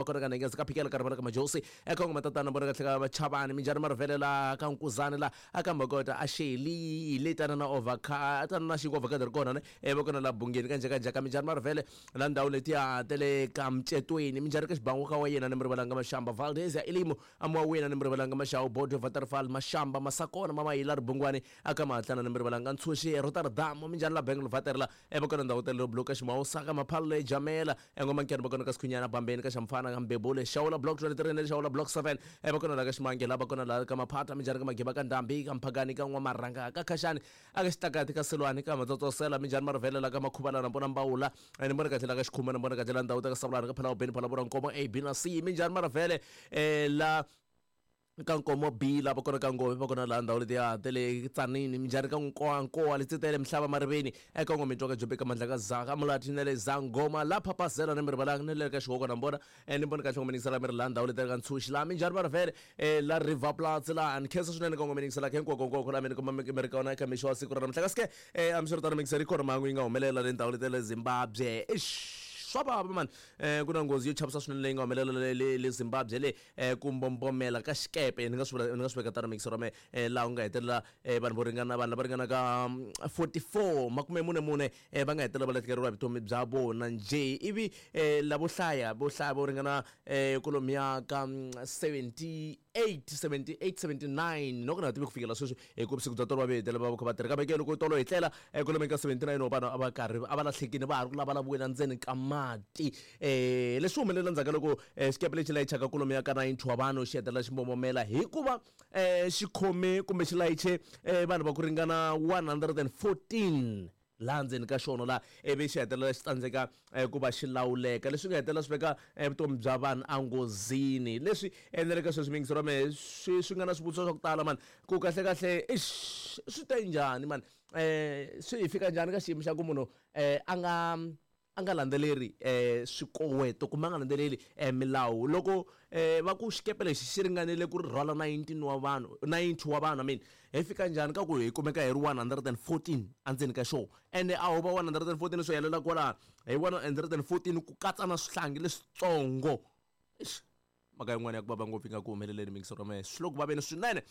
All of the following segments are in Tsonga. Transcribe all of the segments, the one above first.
kona ka Nhengeza ka Phikela ka Rivala ka Majosi eka ngoma tatana vona kahle ka Chavani minjhani Marivele la ka Nkuzani la aka Mbokota a Sheli le tana na overka tana na xinkwa avocado ri kona ne va kona la Bungeni ka Njhekanjheka minjhani Marivele la ndhawu letiya ta le ka Mcetweni minjhani ka Xibangu ka wa yena ni Mrivalanga Mashamba Valdez ya Elimo amuwa wena ni Mrivalanga Maxawu Bodwe Waterfall Mashamba Masakona Mamayila Ribungwani aka Mahatlana ni Mrivalanga Ntshunxi Rotterdam minjhani la Bengal Vaterla va kona ndhawu ta le Bloka Ximawusa ka Maphalule Jamela engoma Nkene va kona ka Sikhunyana Bambeni ka Xamfana ka Mbebule Xawula Block 23 na le Xawula Block 7 va kona la ka Ximange la va kona la ka Maphata minjhani ka Magiba ka Ndhambi ka Mphakani ka N'wamarhanga ka Khaxani aka Xitlakati ka Silwani ka Matsotsosela minjhani Marivele la ka Makhuvana na vona Mbawula ni vona kahle la ka Xikhuma ni vona kahle la ndhawu ta ka Savulani ka Phalawubeni Phalabura Nkomo A B na C minjhani Marivele la ka Nkomo B la va kona ka Ngove va kona laha ndhawu letiya ta le Tsanini minjhani ka Nkoa Nkoa Letsitele Mihlava Mariveni eka Ngome Ntswaka Jobeka Mandla ka Zaka Mulati na le Zangoma la Phapazela ni mi rivalanga ni le ka Xihoko na vona ni vona kahle ngome ningisela mi ri laha ndhawu letiya ka Ntshunxi laha minjhani Marivele la River Platz laha ni khensa swinene ka ngome ningisela hinkwako hinkwako laha mi ni kuma mi ri kona eka mixo wa siku ra namuntlha kasi ke hambiswiritano mingiseri yi kona mhangu yi nga humelela le ndhawu letiya le Zimbabwe eish swa vava mani ku na nghozi yo chavisa swinene leyi nga humelela le le Zimbabwe le ku mbombomela ka xikepe ni nga swi vula ni nga swi veka tano mixer wa mehe laha ku nga hetelela vanhu vo ringana vanhu lava ringanaka 44 makume mune mune va nga hetelela va lahlekeriwa hi vutomi bya vona njhe ivi lavo hlaya vo hlaya vo ringana kwalomuya ka 78 78 79 no ku na tivi ku fikela sweswi hi ku vusiku bya tolo va ve hetelela va kha va tirha kambe ke loko tolo hi tlela kwalomu ka 79 wa vanhu a va karhi a va lahlekile va ha ri ku lavalaviweni endzeni ka mati leswi humelela ndzhaku ka loko xikepe lexi layichaka kwalomuya ka 90 wa vanhu xi hetelela xi mbombomela hikuva xi khome kumbe xi layiche vanhu va ku ringana 114 laha ndzeni ka xona laha ivi xi hetelela xi tsandzeka ku va xi lawuleka leswi nga hetelela swi veka vutomi bya vanhu enghozini leswi endleleke sweswi miyingiselo wa mehe swi swi nga na swivutiso swa ku tala mani ku kahle kahle ixi swi te njhani mani swi hi fika njhani ka xiyimo xa ku munhu a nga a nga landzeleri swikoweto kumbe a nga landzeleli milawu loko va ku xikepe lexi xi ringanele ku ri rhwala 19 wa vanhu 90 wa vanhu I mean hi fika njhani ka ku hi kumeka hi ri 114 endzeni ka xona ende a ho va 114 swo helela kwalaho hi 114 ku katsa na swihlangi leswitsongo eish mhaka yin'wana ya ku vava ngopfu yi nga ku humeleleni mixer wa mehe swi le ku vaveni swinene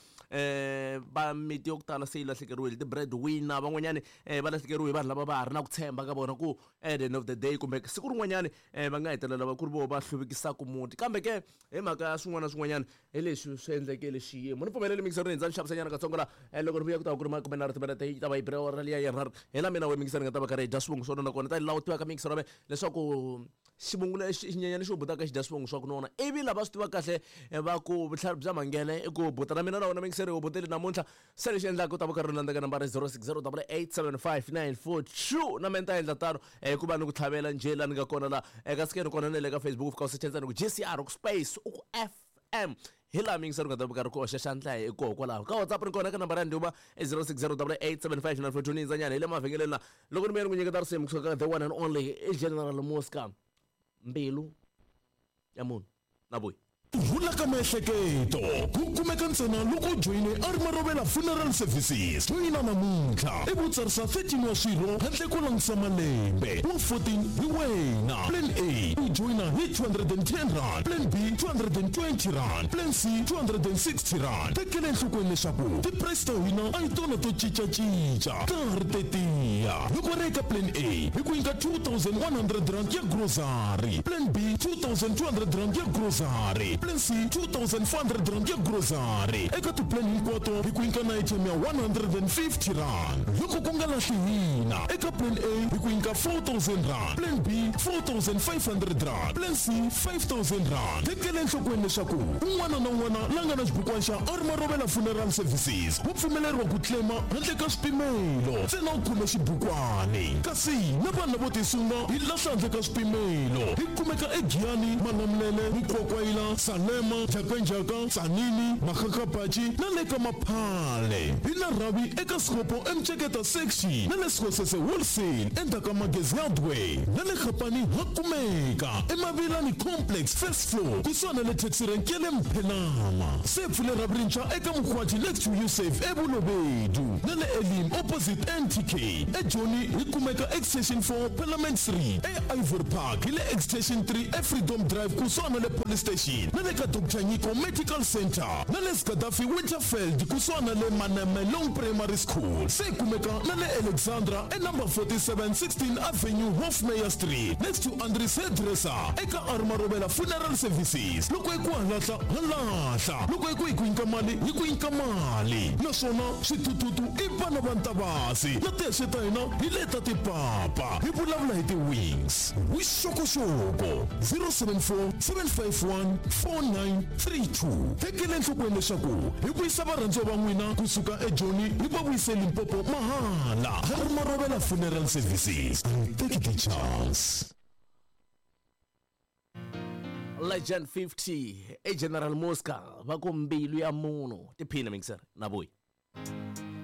va miti yo ku tala se yi lahlekeriwile ti-bread winner van'wanyani va lahlekeriwe hi vanhu lava va ha ri na ku tshemba ka vona ku at the end of the day kumbe siku rin'wanyani va nga hetelela va ku ri voho va hluvukisaka muti kambe ke hi mhaka ya swin'wana na swin'wanyana hi leswi swi endlekele xiyimo ni pfumeleli mixer ni hindza ni xavisanyana katsongo la loko ni vuya ku ta va ku ri makume nharhu timinete yi ta va yi bile awara liya ya nharhu hi la mina we mixer ni nga ta va karhi hi dya swivungu swo nona kona ta laha u tivaka mixer wa mehe leswaku Xivungu lexi i xinyenyana xi butaka xi dya swivungu swa ku nona. Ivi lava swi tivaka kahle va ku vutlhari bya manghele i ku buta na mina na wena muyingiseri u butile namuntlha. Se lexi endlaka u ta va u karhi u landza ka nambara 0608875942 na mina ni ta endla tano hikuva ni ku tlhavela njhe laha ni nga kona laha eka scan kona na le ka Facebook u fika u secha ntsena ku GCR u ku space u ku FM hi laha muyingiseri u nga ta va karhi ku hoxa xandla hi koho kwalaho ka WhatsApp ni kona ka nambara ya ndhuma i 0608875942 ni hindzanyana hi le mavhengeleni laha loko ni vuya ni ku nyiketa risimu kusuka ka the one and only i General Mosca mbilu ya munhu na vuyi Ku rhula ka miehleketo ku kumeka ntsena loko u joyine Armarovela Funeral Services. Joyina namuntlha ivi u tsarisa 13 wa swirho handle ko langutisa malembe. Wa 14 hi wena. Plan A, u joyina hi R210, Plan B, R220, Plan C, R260. Tekela enhlokweni leswaku ti-price ta hina a hi tona to cinca-cinca, ta ha ri tetiya. Loko ri eka Plan A, hi ku nyika R2100 ya grocery, Plan B, R2200 ya grocery, Plan C, R2400 ya grocery. Eka ti-plan hinkwato hi ku nyika na airtime ya R150. Loko ku nga lahli hina, eka Plan A hi ku nyika R4000, Plan B, R4500, Plan C, R5000. Tekela enhlokweni leswaku un'wana na un'wana la nga na xibukwana xa Armarovela Funeral Services wa pfumeleriwa ku claim handle ka swipimelo, ntsena u khome xibukwani. Kasi na vanhu lavo tisunga hi lahla handle ka swipimelo. Hi kumeka eGiyani, Malamulele, Mukwakwayila, Salem. Nondzwema, Jhakanjhaka, Tzaneen, Makgakgapatši na le ka Maphale. Hi na rhavi eka Sekgopo eMceketa Section na le Sekgosese Wholesale endzhaku ka Magezi Hardware na le Kgapane ha kumeka eMavilani Complex first floor kusuhani na le taxi rank ya le Mphenama. Se pfule rhavi rintshwa eka Mokgwathi next to Usave eBolobedu na le Elim opposite NTK. EJoni hi kumeka Extension 4 Parliament Street, eIvory Park hi le Extension 3 eFreedom Drive kusuhani na le Police Station na le ka Doctor Nyiko Medical Centre na le Gaddafi Winterveld kusuhani na le Manamelong Primary School. Se hi kumeka na le Alexandra e number 47 16 Avenue Hofmeyr Street next to Andries Hairdresser eka Armarovela Funeral Services. Loko hi ku halahla ha lahla, loko hi ku hi ku nyika mali hi ku nyika mali. Naswona swithuthuthu i vana va Ntavasi na tihexe ta hina hi leta tipapa. Hi vulavula hi ti-wings. Vuxokoxoko 074 751 4932. Tekela enhlokweni leswaku hi vuyisa varhandziwa va n'wina kusuka eJoni hi va vuyise Limpopo mahala. Harmarovela Funeral Services. Take the chance. Legend 50 e General Mosca va ku mbilu ya munhu tiphina mixer na vuyi.